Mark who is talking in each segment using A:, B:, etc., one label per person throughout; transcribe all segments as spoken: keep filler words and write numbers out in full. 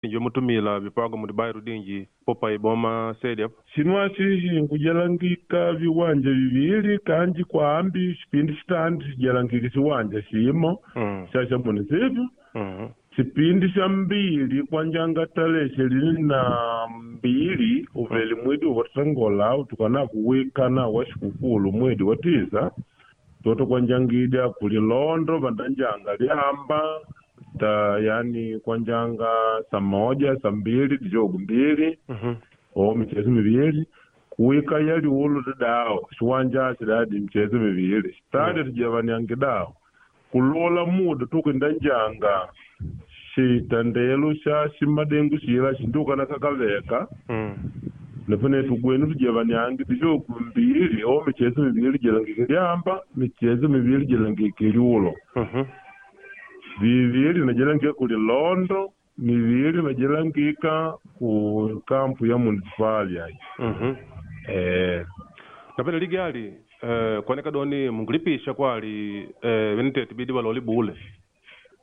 A: Injo mutumila vipago mudi bairro dinji popa iboma sede apo.
B: Sinwasi sinkujalangika viwanja vivili kanji kwambi xipindi xitandi xijalangike xiwanja ximo
A: Mm.
B: xa xa município.
A: Mm.
B: Xipindi xa mbili kwanjanga tarehe ishirini na mbili uveli mwedi watangola utukana kuwikana wa xikukulu mwedi wa tisa toto kwanjangidya kulilondo vandanjanga lyamba ta yani kwanjanga saa moja saa mbili dijogo mbili
A: Mm.
B: o michezo mivili kuwika yaliulo didao xiwanja xidadi michezo mivili xitadi tijavaniange dao kulola muda tukindanjanga xitandelo xa ximadengu xila xindukana kakaveka.
A: Mm.
B: Nafane tugwenu tujavaniange dijogo mbili o michezo mivili jalangike lyamba michezo mivili jalangike liulo.
A: Mm.
B: Vivili najalangika kulilondo mivili najalangika ku kampu ya municipal ayi.
A: Mm.
B: Eh.
A: Napene ligali eh, kuoneka doni mungulipisha kwali eh, venitete bidi baloli bule.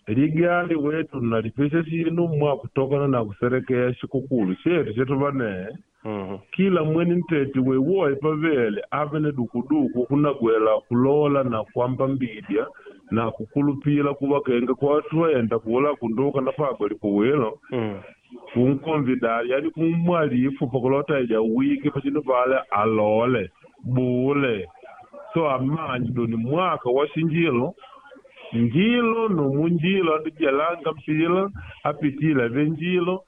B: Ligali wetu nalipisha xinu mwa kutokana na kuserekea xikukulu xetu xetu vane.
A: Mm.
B: Kila mwene ntete wewoye pavele ave na dukuduku kunagwela kulola na kwamba mbidya na kukulupila kuva kenga kwatwenda kula kunduka na pagwe likuwilo.
A: Mm.
B: Kunkonvidali yani kumwalifu pakulota ija wiki pacino pale alole bule so amanji doni mwaka wa xinjilo njilo nomunjilo andijalanga mpila apitila venjilo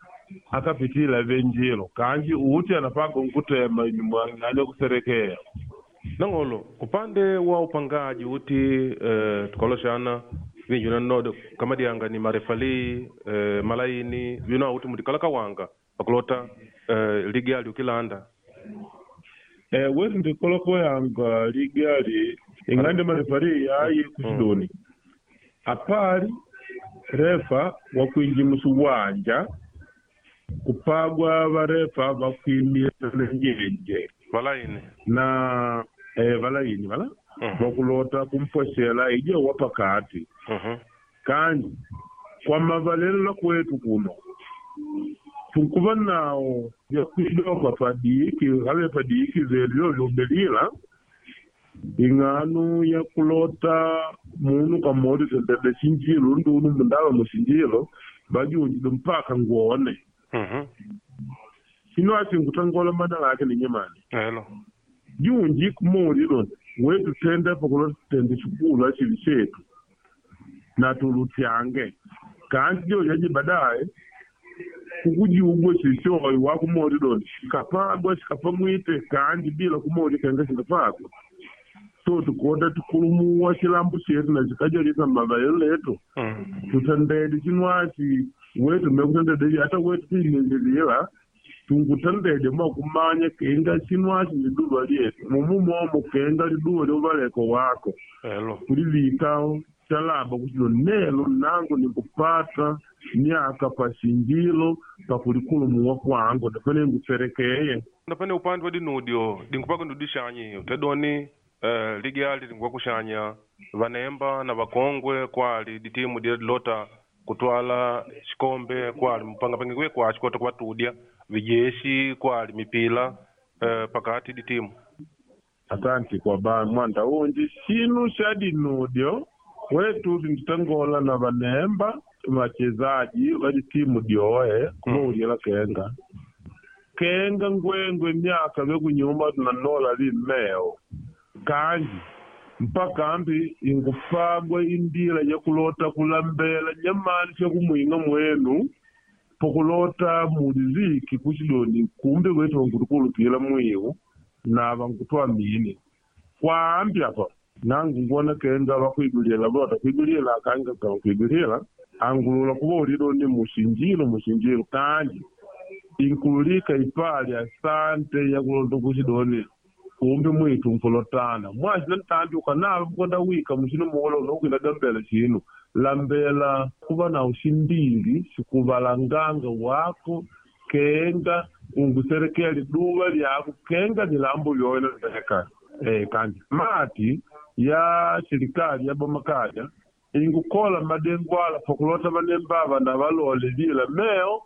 B: akapitila venjilo kanji uti anapaga nkutema imwang'anya kuserekea.
A: Nang'olo upande wa upangaji uti eh, tukaloxana vinji nanodo kama dianga ni marefali eh, malaini vino uti mutikala kawanga pakulota eh, ligali ukilanda.
B: Eh, wetu ndikoloko yanga ligali ing'ande marefali yayi kuxidoni apali refa wakwinji muxiwanja kupagwa varefa vakwimila njenje
A: valaini
B: na eh, valaini vala
A: Mm.
B: vakulota kumpwexela ije wapakati.
A: Mm.
B: Kanji kwa mavalelo la kwetu kuno tunkuva nawo vyakuidoka padiki have padiki velu vyovyobelila ing'anu ya kulota munu kamodi tendede xinjilo ndunu mundava muxinjilo vajunjile mpaka ngwone.
A: Mm.
B: Xino acinkutangola mana lake ninyemani.
A: Elo
B: junji kumolilo wetu tenda pakulota tende xikulu axili xetu na tulutyange kanji jojaji baadaye kukujugwa xixoyi wakumoliloni xikapagwa xikapamwite kanji bila kumoli kenga xikapagwa so tukota tukulumuwa xilambu xetu na xikajalisa mavalelo letu.
A: Mm.
B: Tutandede xinwaxi wetu mekutandede ata wetu tuimelelila tungutandede mwakumanya kenga xinwaxi liduva lyetu mumumomo kenga liduva lyovaleko wako.
A: Elo
B: kulivika talaba kuxilo nelo nangu nikupata myaka paxinjilo pakulikulumuwa kwangu ndafane nguserekeye.
A: Napene upande wa dinudio dinkupaga ndudixanyi utedoni eh, ligali dinkuwa kuxanya vanemba na vakongwe kwali ditimu dile dilota kutwala xikombe kwali mupangapangikwe kwaxi kota kuvatudya vijeshi kwali mipila eh, pakati ditimu.
B: Asanti kwa ba mwanda unji xinu xa dinudio wetu tinditangola na vanemba vachezaji va ditimu dyoe kumaulyela kenga kenga ngwengwe myaka vekunyuma tunanola limeo kanji mpaka ambi ingupagwa indila yakulota kulambela nyamani syakumwinga mwenu pokulota muliviki kuxidoni kumbe wetu vankutukulupila mwiwu na vankutwamini kwaambi apa nangu ngona kenga vakuiguliela vota kuiguliela akanga kavakuiguliela angulula kuva ulidoni muxinjilo muxinjilo kanji inkululika ipali asante yakulonda kuxidoni kumbe mwitu nkulotana mwaxina ntambi ukanava kukonda wika muxino muola unokwinda gambela xinu lambela kuva na uximbili xikuvalanganga wako kenga unguserekea liduva lyako kenga lilambo lyoena leka eh, kanji mati ya serikali ya bomakaya ingukola madengwala pakulota vanembava na valole lila meo.